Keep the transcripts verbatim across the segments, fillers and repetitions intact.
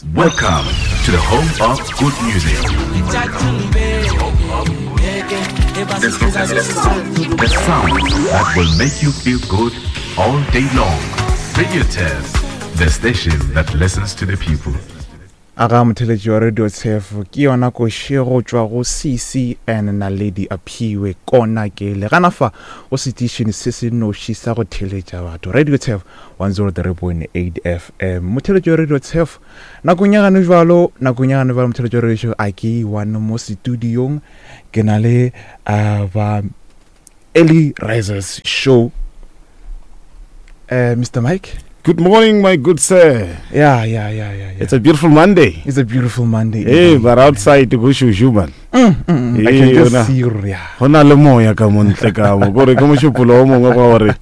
Welcome to the home of good music. The sound that will make you feel good all day long. Radio Test, the station that listens to the people. Aga motheletši wa Radio Tshefo, ke yona koše go tšwa go C C N Naledi Aphiwe kona ke le gana fa go setišene se se noši sa go theletša batho, Radio Tshefo one oh three point eight F M. Motheletši wa Radio Tshefo, nakong ya gane jalo, nakong ya gane jalo, motheletši wa radio, a ke one mo studiong ke na le uh, ba Early Risers Show, uh, Mister Mike. Good morning, my good sir. yeah yeah yeah yeah, yeah. It's a beautiful Monday. It's a beautiful Monday. Hey, indeed. But outside go shushu, man. Mm, mm, mm. I can Eh, just yona. see, yeah. Go na le moya ka mo ntle ka mo. Kore ke mošupolo o mongwe wa gore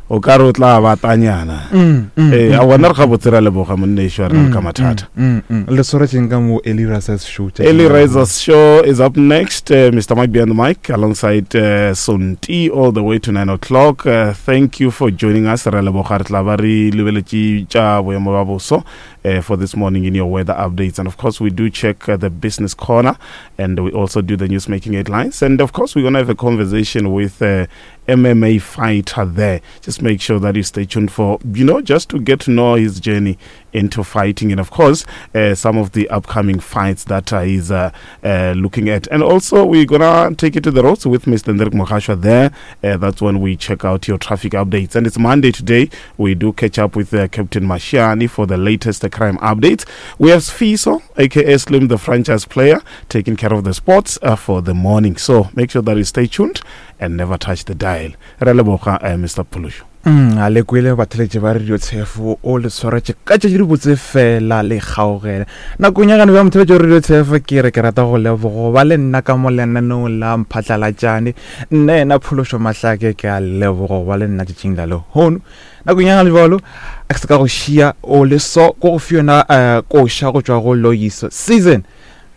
o ka re o tla batanyana. Mm, mm, Eh, mm, a bona re ga botse ra leboga monne wa rena ka mathata. Mm, mm. Le swaretseng ka mo Early Risers Show tšatši Early la Risers Show is up next. Uh, Mister Mike behind the mic alongside uh, Sonti all the way to nine o'clock. Uh, thank you for joining us. Re leboga re tla ba re lebeletše tša boemo ba boso uh, for this morning in your weather updates. And of course, we do check uh, the business corner and we also do the news making headlines. And of course, we're going to have a conversation with uh, M M A fighter there. Just make sure that you stay tuned for, you know, just to get to know his journey into fighting and, of course, uh, some of the upcoming fights that uh, he's uh, uh, looking at. And also, we're going to take it to the roads with Mister Ndrik Mokhashwa there. Uh, that's when we check out your traffic updates. And it's Monday today. We do catch up with uh, Captain Mashiani for the latest uh, crime updates. We have Sfiso, A K A Slim, the franchise player, taking care of the sports uh, for the morning. So make sure that you stay tuned and never touch the dial. Re leboga, uh, Mister Phulusho. Mm, a le kwele batheletše ba Radio Tshefo, o le swaretše ka tšatši di botse fela le kgaogela nakong ya gane bja motheletše wa Radio Tshefo. Ke re ke rata go lebogo ba le nna ka mo lenaneong la Mphatlalatšane. Nna yena Phološo Mahlake, ke a lebogo ba le nna tšatšing la lehono. Nakong ya gane jalo a ke se ka go šia o le so ko go fi yona um koša go tšwa go Loyiso Season,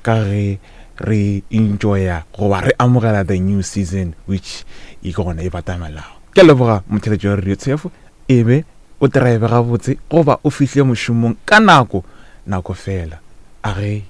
ka ge re enjoya goba re amogela the new season, which e ke gona e batamelago. Ke a leboga motheletši wa Radio Tshefo, e be o drive gabotse goba o fihle mošomong ka nako nako fela a ge.